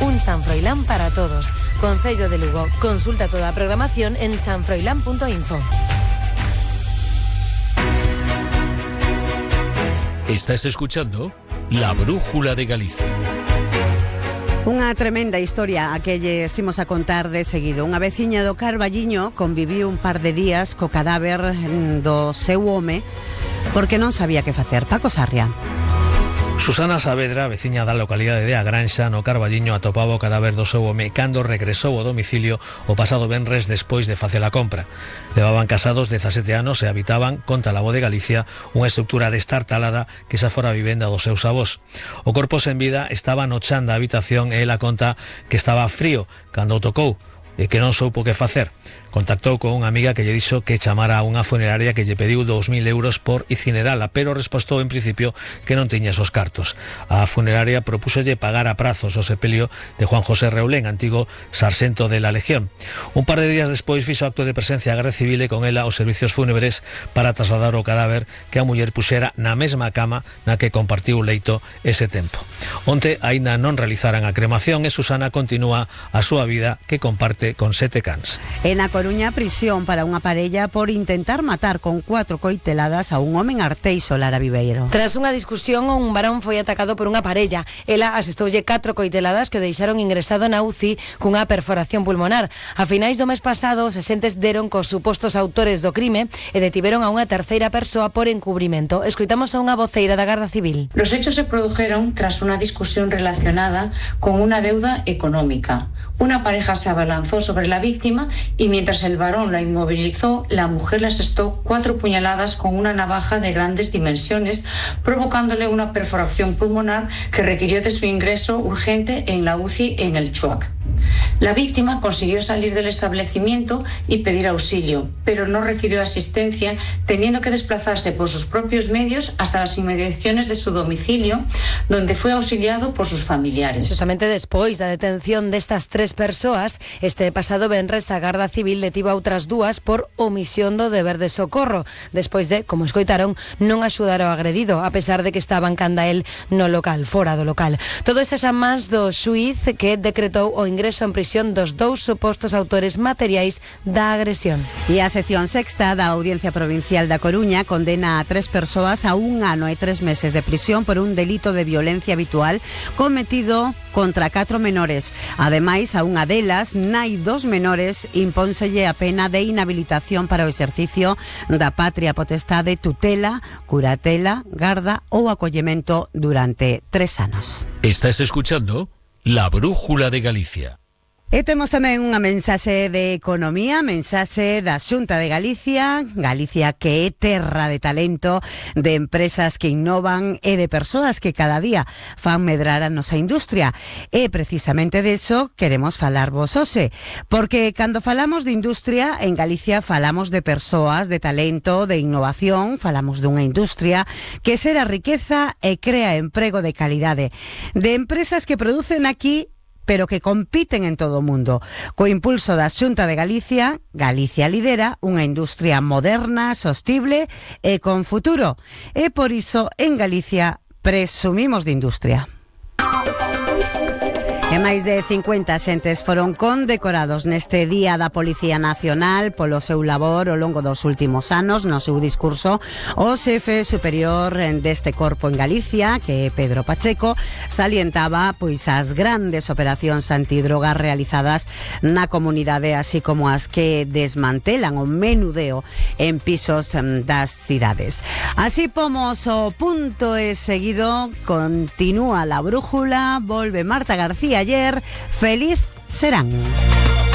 Un San Froilán para todos. Concello de Lugo. Consulta toda a programación en sanfroilán.info. Estás escuchando La Brújula de Galicia. Unha tremenda historia a que lles imos a contar de seguido. Unha veciña do Carballiño conviviu un par de días co cadáver do seu home porque non sabía que facer. Paco Sarria. Susana Saavedra, veciña da localidade de A Granxa, no Carballiño, atopaba o cadáver do seu home cando regresou ao domicilio o pasado venres despois de facer a compra. Levaban casados 17 anos e habitaban, conta la Voz de Galicia, unha estrutura destartalada que xa fora a vivenda dos seus avós. O corpo sen vida estaba no chan da habitación e ela conta que estaba frío cando o tocou e que non soupo que facer. Contactou con unha amiga que lle dixo que chamara a unha funeraria que lle pediu 2.000 euros por incinerala, pero respostou en principio que non tiña esos cartos. A funeraria propúsolle pagar a prazos o sepelio de Juan José Reulén, antigo sarxento de la Legión. Un par de días despois fixo acto de presencia a Garda Civil e con ela os servicios fúnebres para trasladar o cadáver que a muller puxera na mesma cama na que compartiu o leito ese tempo. Onte aínda non realizaran a cremación e Susana continúa a súa vida que comparte con 7 cans. En A Coruña, prisión para unha parella por intentar matar con 4 coiteladas a un home en Arteixo, Lara Viveiro. Tras unha discusión, un varón foi atacado por unha parella. Ela asestoulle 4 coiteladas que o deixaron ingresado na UCI cunha perforación pulmonar. A finais do mes pasado, os axentes deron cos supostos autores do crime e detiveron a unha terceira persoa por encubrimento. Escoitamos a unha voceira da Garda Civil. Los hechos se produjeron tras una discusión relacionada con una deuda económica. Una pareja se abalanzó sobre la víctima y mientras el varón la inmovilizó, la mujer le asestó 4 puñaladas con una navaja de grandes dimensiones, provocándole una perforación pulmonar que requirió de su ingreso urgente en la UCI en el Chuac. La víctima consiguió salir del establecimiento y pedir auxilio, pero no recibió asistencia, teniendo que desplazarse por sus propios medios hasta las inmediaciones de su domicilio, donde fue auxiliado por sus familiares. Justamente despois da detención destas 3 persoas, este pasado venres a Garda Civil detivo a outras 2 por omisión do deber de socorro, despois de, como escoitaron, non axudar ao agredido, a pesar de que estaban canda el no local, fora do local. Todo isto xa máis do xuíz que decretou o ingreso en prisión dos 2 supostos autores materiais da agresión. E a sección sexta da Audiencia Provincial da Coruña condena a 3 persoas a 1 ano e 3 meses de prisión por un delito de violencia habitual cometido contra 4 menores. Ademais, a unha delas, nai 2 menores, impónselle a pena de inhabilitación para o exercicio da patria potestade, tutela, curatela, garda ou acollemento durante 3 anos. Estás escuchando La Brújula de Galicia. E temos tamén unha mensaxe de economía, mensaxe da Xunta de Galicia, Galicia que é terra de talento, de empresas que innovan e de persoas que cada día fan medrar a nosa industria. E precisamente deso queremos falarvos hoxe, porque cando falamos de industria, en Galicia falamos de persoas, de talento, de innovación, falamos dunha industria que xera riqueza e crea emprego de calidade, de empresas que producen aquí pero que compiten en todo o mundo. Co impulso da Xunta de Galicia, Galicia lidera unha industria moderna, sostible e con futuro. E por iso, en Galicia, presumimos de industria. E máis de 50 xentes foron condecorados neste Día da Policía Nacional polo seu labor ao longo dos últimos anos. No seu discurso, o xefe superior deste corpo en Galicia, que é Pedro Pacheco, salientaba pois as grandes operacións antidrogas realizadas na comunidade, así como as que desmantelan o menudeo en pisos das cidades. Así pomos o punto e seguido, continúa la brújula, volve Marta García ayer, feliz serán.